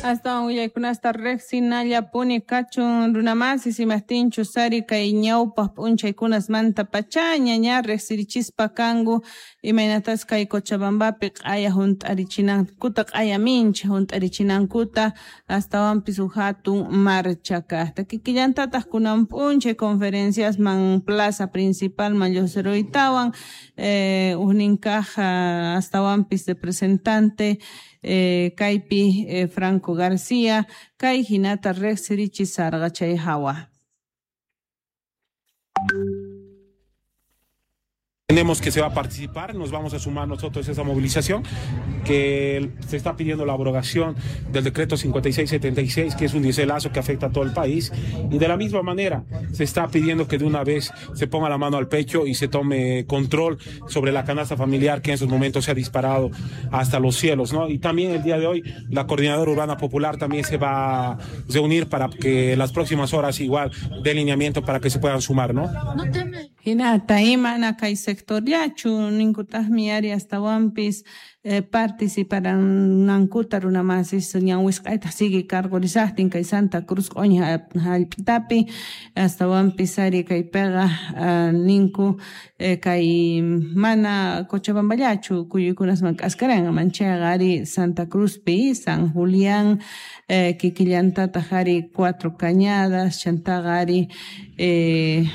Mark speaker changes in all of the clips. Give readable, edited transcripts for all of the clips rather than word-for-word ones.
Speaker 1: Astawan willaykunasta riqsinallapuni kachun runamasis imajtinchus ari kay ñawpaq p'unchaykunasmanta pachaña ña riqsirichispa kanku imaynatas kay Cochabambapi q'aya hunt'arichinankuta, q'aya mincha hunt'arichinankuta astawanpis huk hatun marcha kaqta. Kikillantataq kunan p'unchay conferenciasman plaza principalman lluqsiruytawan huknin kaq astawanpis representante kaypi Franco García kay hinata riqsirichisarqa chay hawa.
Speaker 2: Entendemos que se va a participar, nos vamos a sumar nosotros a esa movilización, que se está pidiendo la abrogación del decreto 5676, que es un dieselazo que afecta a todo el país, y de la misma manera se está pidiendo que de una vez se ponga la mano al pecho y se tome control sobre la canasta familiar que en esos momentos se ha disparado hasta los cielos, ¿no? Y también el día de hoy la Coordinadora Urbana Popular también se va a reunir para que las próximas horas igual dé lineamiento para que se puedan sumar, ¿no?
Speaker 1: Hinata imana kay sectorllachu ninkutaqmi ari astawanpis participaranankuta runamasis ñan wisq'aytaq sigue cargorisaqtin kay Santa Cruz q'uña hallp'itapi astawanpis ari kaypiqa ninku kay mana Cochabamballachu kuyuykunasman k'askaranqa manchayqa ari Santa Cruzpi San Julián kikillantataq ari Cuatro Cañadas chantaqa ari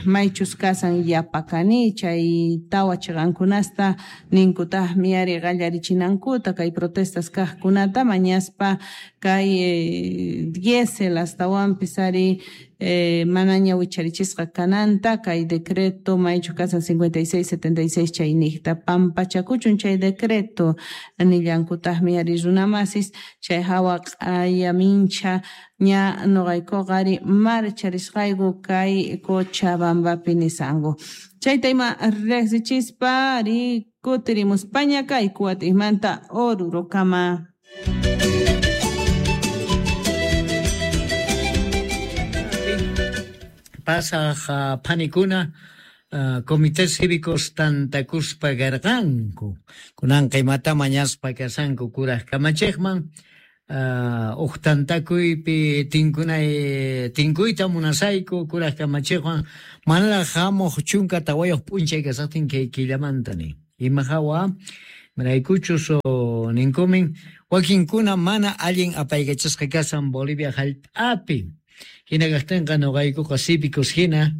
Speaker 1: maychus kasan Yapacani chay tawa chiqankunasta ninkutaqmi ari qallarichinankuta kay protestas kaqkunata mañaspa kay diésel astawanpis ari manaña wicharichisqa kananta kay decreto maychu kasan 5676 chayniqta pampachakuchun chay decreto nillankutaqmi ari runamasis chay hawa q'aya mincha ña nuqaykuqa ari marcharisqayku kay Cochabambapi nisanku. Chayta ima riqsichispa ari kutirimuspaña kay kuwat'imanta Orurokama.
Speaker 3: Pasaj phanikuna comités cívicos tantakuspa garqanku kunanqa imata mañaspa kasanku kuraj kamachiqman uj tantakuypi tinkuyta munasayku kuraj kamachiqwan manaraq hamuq chunka tawayuq p'unchay kasaqtin kay killamanta nin ima hawa maraykuchus ninkumin wakinkuna mana allin apaykachasqa kasan Bolivia hallp'api. Hina kaqtinqa nuqaykuqa cívicos hina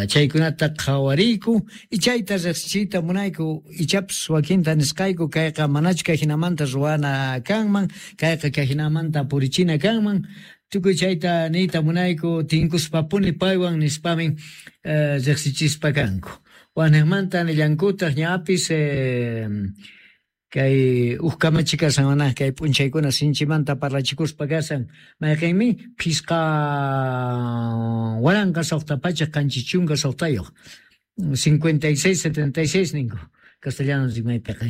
Speaker 3: chaykunata qhawariyku y chayta riqsichiyta munayku ichapas wakinta nisqayku kayqa manachu kay hinamanta ruwana kanman kayqa kay hinamanta purichina kanman tukuy chayta niyta munayku tinkuspapuni paywan nispamin riqsichispa kanku. Waniqmanta nillankutaq ñapis kay uj kamachi kasan mana kay p'unchaykuna sinchimanta parlachikuspa kasan mayqinmi phisqa 1676 5676 ninku castellano rimaypiqa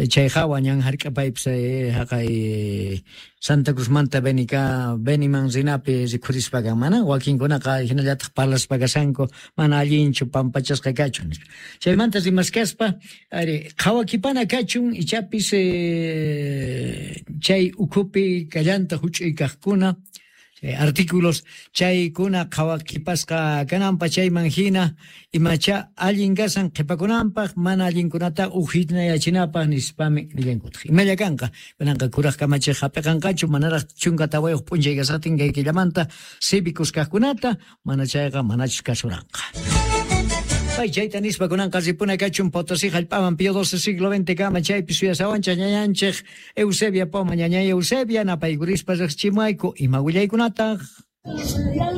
Speaker 3: chay hawa ñan hark'apaypis haqay Santa Cruzmanta Beniman rinapi rikhurispa kan mana wakinkunaqa hinallataq parlaspa kasanku mana allinchu pampachasqa kachun nispa. Chaymanta rimaskaspa ari qhawakipana kachun ichapis chay ukhupi kallanta huch'uy kaqkuna artículos chaykuna qhawakipasqa kananpa chayman hina imacha allin kasan qhipakunanpaq mana allinkunata uhinayachinapaq nispami nillankutaq. Imalla kanqa kunanqa kuraj kamachiq hap'iqanqachu manaraq 14 p'unchay kasaqtin kay killamanta cívicos kaqkunata mana chayqa manachus kasuranqa. Pay chayta nispa kunanqa ripuna kachun Potosí hallp'aman Pío XII siglo XX kama chaypi suyasawanchaq ñañanchik Eusebia Poma ñañay Eusebia napaykurispa riqsichimuayku ima willaykunataq.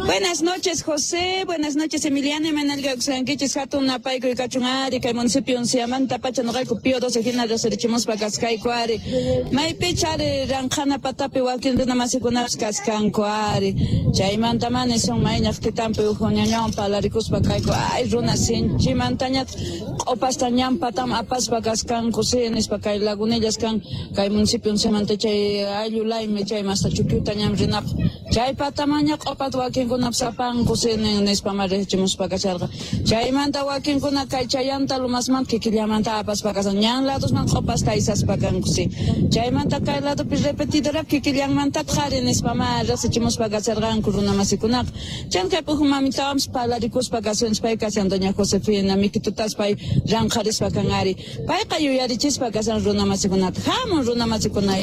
Speaker 4: Buenas noches, José. Buenas noches, Emiliano. Manalga uxankichis hatun napaykuy kachun ari kay municipio Unciamanta pacha nuqayku Pío XII hina riqsirichimuspa kasqayku ari. Maypicha ari ranqhana patapi wakin runa masikunapas kaskanku ari. Chaymanta mana son mayñaq titanpi uj ñañawan parlarikuspa kayku ay runa sinchimantañataq q'upasta ñan pataman apaspa kaskanku si nispa kay lagunillas kan kay municipio Unciamanta chay ayllu laymi chay masta chukyuta ñan rinapaq. Chay pataman Ashkhataña q'opata wakinkunapas apanku nispa riqchimuspa kasharqa. Chaymanta wakinkuna kay chayanta Lomasmanta kikillamanta apaspa kashan. Ñan ladosman q'opasta aysaspa kanku si. Chaymanta kay ladopi repetidorap kikillanmantataq ari nispa ma riqsichimuspa kasharqanku runamasikunaqa. Chan kay puju mamitawanpas parlarikuspa kashanchis pay kashan doña Josefina mikitutas pay ranqharispa kan ari. Payqa yuyarichispa kashan runamasikunata. Hamun runamasikuna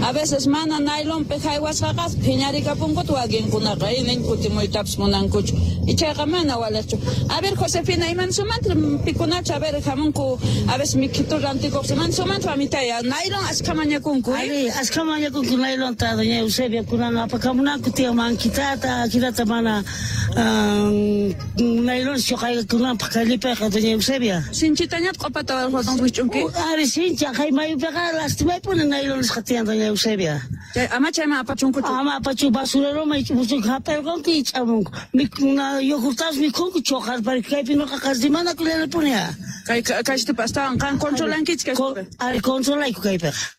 Speaker 4: a veces mana nailonpi haywasqaqa phiñarikapunkuta wakinkunaqa nin kutimuytapas munankuchu. Ichaqa mana waliqchu. A ver Josefina, imansumanta pikunachu a ver hamunku a veces mikitu rantikuq imansumanta mamitay nailon ashkha mañakunku.
Speaker 5: Ari, ashkha mañakunku nailonta doña Eusebia kunan apakamunanku tiyan mankitata, akirata mana nailon choqaykunanpaq kallipayqa doña Eusebia.
Speaker 4: Sinchitañat q'opata wich'unki?
Speaker 5: Ari, sincha, kay mayupiqa lastimaypuni nailonesqa tiyan doña Eusebia.
Speaker 4: Chay ama chayman apachunkuchu?
Speaker 5: Ama apachu basureroman hap'irqanku ich'amunku. Yogurtapas mikhunku choqarpari kaypi noqaqa rimanakullanipuni.
Speaker 4: Kay kayshtipa astawan qan controlankichik kayshtipi?
Speaker 5: Ari, controlayku kaypiqa.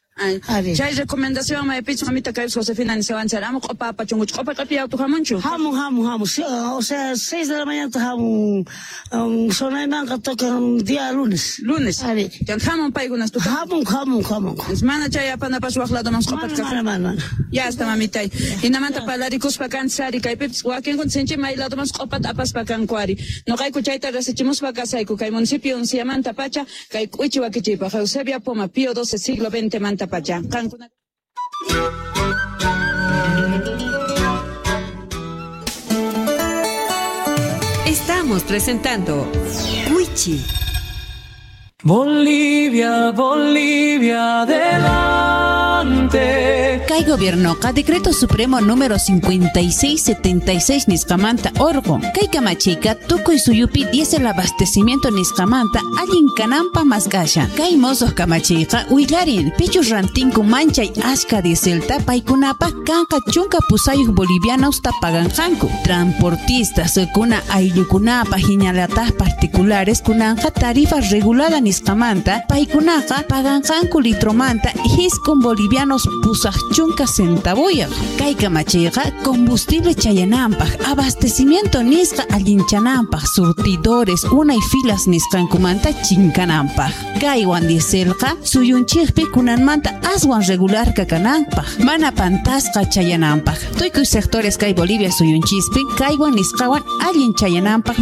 Speaker 4: Chay recomendación maypichu mamita kay Josefina nishawanchar ama q'opa apachunkuchu. Q'opa q'api auto hamunchu?
Speaker 5: Hamun, hamun, hamun. O sea, 6 de la mañana hamun. Sonaymanqa tocan día lunes.
Speaker 4: Lunes.
Speaker 5: Ari.
Speaker 4: Chanta hamun paykunas tuta.
Speaker 5: Hamun, hamun, hamun.
Speaker 4: Mana chay apanapas waq ladoman q'opata.
Speaker 5: Mana, mana, mana.
Speaker 4: Ya está mamitay. Hinamanta parlarikuspa kanchis ari kaypipis wakinkuna sinchi may ladoman q'opata apaspa kanku ari. Noqayku chayta rasichimuspa kasayku kay municipio Unciamanta pacha kay k'uichi wakichiypaq Eusebia Poma Pío XII siglo XX manta pacha. Qankuna.
Speaker 6: Estamos presentando Wichi.
Speaker 7: Bolivia, Bolivia, adelante.
Speaker 1: Kay gobiernoqa decreto supremo número 5676 nisqamanta orqun. Kay kamachiyqa tukuy suyupi diésel abastecimiento nisqamanta allin kananpaq mask'ashan. Kay mosoq kamachiyqa willarin pichus rantinku manchay ashka dieselta paykunapaq kanqa 18 bolivianos ta paganqanku. Transportistas kuna ayllukunapaq hinallataq particulares kunanqa tarifa regulada nisqamanta paykunaqa paganqanku litromanta 9 bolivianos 80 centavuyaq. Kay kamachiyqa combustible chayananpaq, abastecimiento nisqa allinchananpaq, surtidores unay filas nisqankumanta chinkananpaq. Kaywan dieselqa suyunchikpi kunanmanta aswan regular kakananpaq, mana pantasqa chayananpaq. Tukuy sectores kay Bolivia suyunchispi kaywan nisqawan allin chayananpaq.